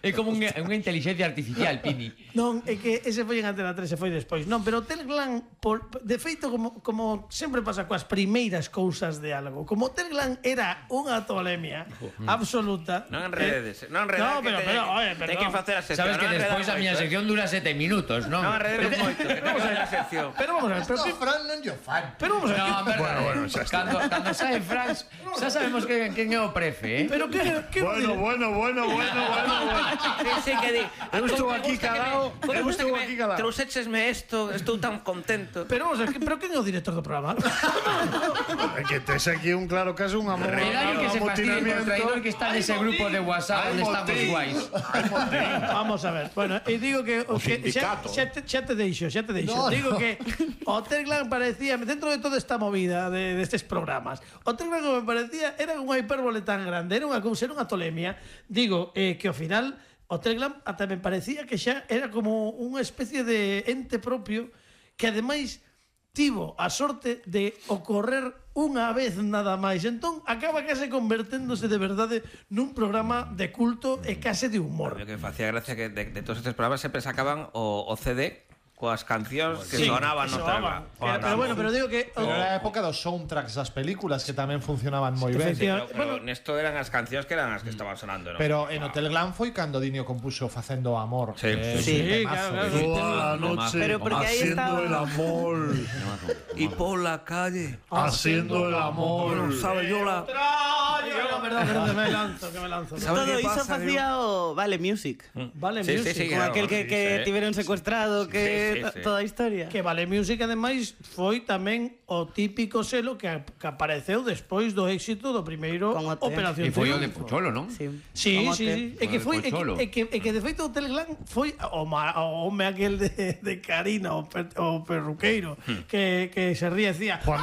É como unha inteligencia artificial, Pini. Non, é que ese foi en Antena 3 e foi despois. Non, pero o Telegram, de feito, como sempre pasa coas primeiras cousas de algo, como o Telegram era unha tolemia absoluta. Non enredes, non enredes. No, pero, Ten que facer a sección. Sabes que despois a miña sección dura 7 minutos, non? Non enredes moito, que ten que facer a sección. Pero vamos a ver, Esto Fran non lle fan. pero vamos a ver. No, Bueno, xa está. cando sae Franz, xa sabemos quen é o prefe, Pero que Bueno. Sí, que di. Eu estou aquí calado. Me gusta que aquí calado. trouxéchesme isto, estou tan contento. Pero vamos a ver, pero quen é o director do programa? É que tes aquí un claro caso, un Redario que se fastidie por traidor que está nese grupo de WhatsApp onde estamos guais. Vamos a ver. Bueno, e digo que sindicato. xa te deixo. No, Digo que o Telegram parecía, dentro de toda esta movida destes programas, o Telegram me parecía era unha hipérbole tan grande, era unha cousa, era unha tolemia. Digo que ao final o Telegram ata me parecía que xa era como unha especie de ente propio que ademais tivo a sorte de ocorrer unha vez nada máis. Entón acaba case converténdose de verdade nun programa de culto e case de humor. O que facía gracia que de todos estes programas sempre sacaban o CD coas cancións que Sí, sonaban que no sonaban. Telegram. Pero bueno, pero digo que Era a época dos soundtracks das películas que tamén funcionaban moi ben. Pero nesto eran as cancións que eran as que estaban sonando, non? Pero en o Telegram foi cando Dinio compuxo Facendo Amor. Sí. que é un Sí, temazo, claro. Toda la noche Pero porque ahí haciendo estaba- el amor. Y por la calle Haciendo el amor. sabe yo la... Perdón, que me lanzo. ¿Sabes Todo qué iso pasa, facía o Vale Music. Vale Sí, Music. sí, Con claro, aquel que sí. tiveron secuestrado, que Sí. toda a historia. Que Vale Music, ademais, foi tamén o típico selo que apareceu despois do éxito do primeiro Con OT. Operación E foi o de Triunfo. Pocholo, non? Sí. Sí, Como sí. te- É que O foi de Pocholo. é que de feito o Telegram foi o home aquel de Karina, o perruqueiro, que se ría e decía Juan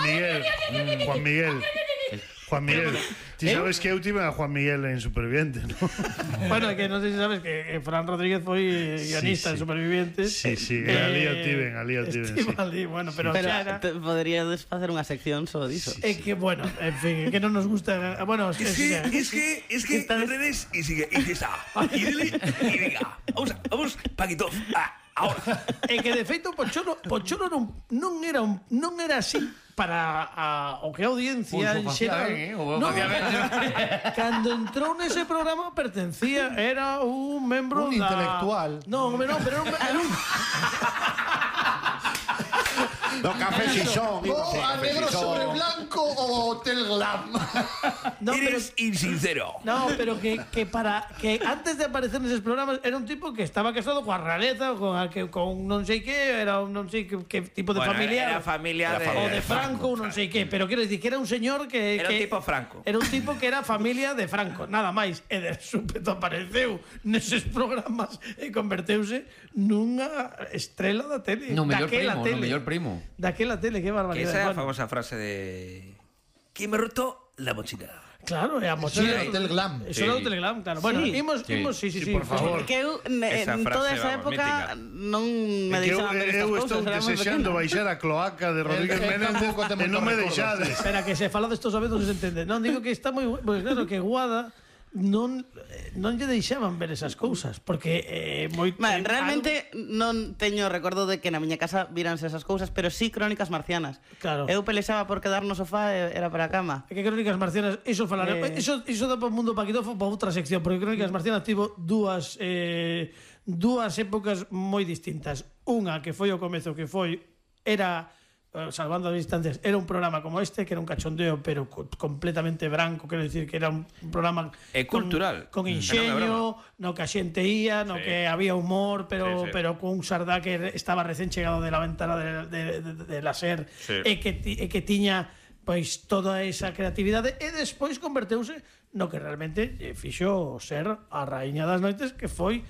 Miguel. Ti sabes que eu tive a Juan Miguel en Superviviente, ¿no? bueno, que non sei se sabes que Fran Rodríguez foi guionista en sí. Supervivientes. Sí, ali o tiven, sí. Ali, bueno, pero Pero xa era. poderíades facer unha sección só diso. É que, bueno, en fin, que non nos gusta. Bueno, Es que redes y sigue, y está. Y dile, y diga. Vamos, Paquito. Ahora. É que de feito Pocholo non era así para o que a audiencia en xeral. Cando entrou nese programa pertencía, era un membro Un intelectual. Non, pero era un No, café Sison. A negro sobre blanco o Telegram. no, pero insincero. no, pero que antes de aparecer neses programas era un tipo que estaba casado coa realeza, con non sei que, era un non sei que tipo de familiar. Era familia de... O de Franco, non sei que, pero quero dicir que era un señor que Era un tipo Franco. Era un tipo que era familia de Franco, nada máis. E de súpeto apareceu neses programas e converteuse nunha estrela da tele. No mellor Daquela primo, no mellor primo. Daquela tele, que Que barbaridade. esa é a Bueno, famosa frase de... ¿Quién me roto la mochila? claro, é a mochila. Eso era o Telegram. Eso era o Telegram, claro. Bueno, Sí. imos, sí. por favor. Porque eu Esa en toda frase, esa vamos, época mítica. non me Que deixaban ver estas eu cousas, estou era moi desexando pequena. baixar a cloaca de Rodríguez El Méndez tampouco ten e non me moitos recordos. deixades. Espera, que se fala destos a veces non se entende. Non, digo que está moi... Pues claro, que Guada non lle deixaban ver esas cousas, porque Realmente non teño recordo de que na miña casa víranse esas cousas, pero sí Crónicas Marcianas. Claro. Eu pelexaba por quedar no sofá e era para a cama. É que Crónicas Marcianas, iso falaré. Iso dá para o mundo paquitofo para outra sección, porque Crónicas Marcianas tivo dúas épocas moi distintas. Unha que foi o comezo, que era salvando as distancias, era un programa como este, que era un cachondeo, pero completamente branco, quero dicir que era un programa cultural, con inxeño, no que a xente ía, no que había humor, pero con un Sardá que estaba recén chegado de la ventana de la SER, e que tiña pois toda esa creatividade, e despois converteuse no que realmente fixo ser a raíña das noites, que foi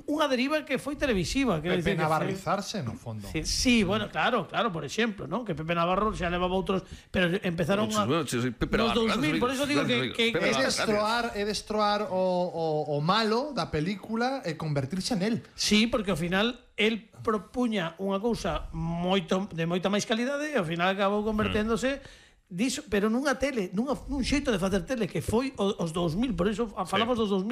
unha deriva que foi televisiva, que Pepe Navarrizarse, no fondo. Sí, bueno, claro, por exemplo, ¿no? Que Pepe Navarro xa levaba outros, pero empezaron nos 2000, por eso digo que é destroar o malo da película e convertirse nel. Sí, porque ao final el propuña unha cousa de moita máis calidade e ao final acabou converténdose diso, pero nunha tele, nun xeito de facer tele que foi os 2000, por eso falamos dos 2000.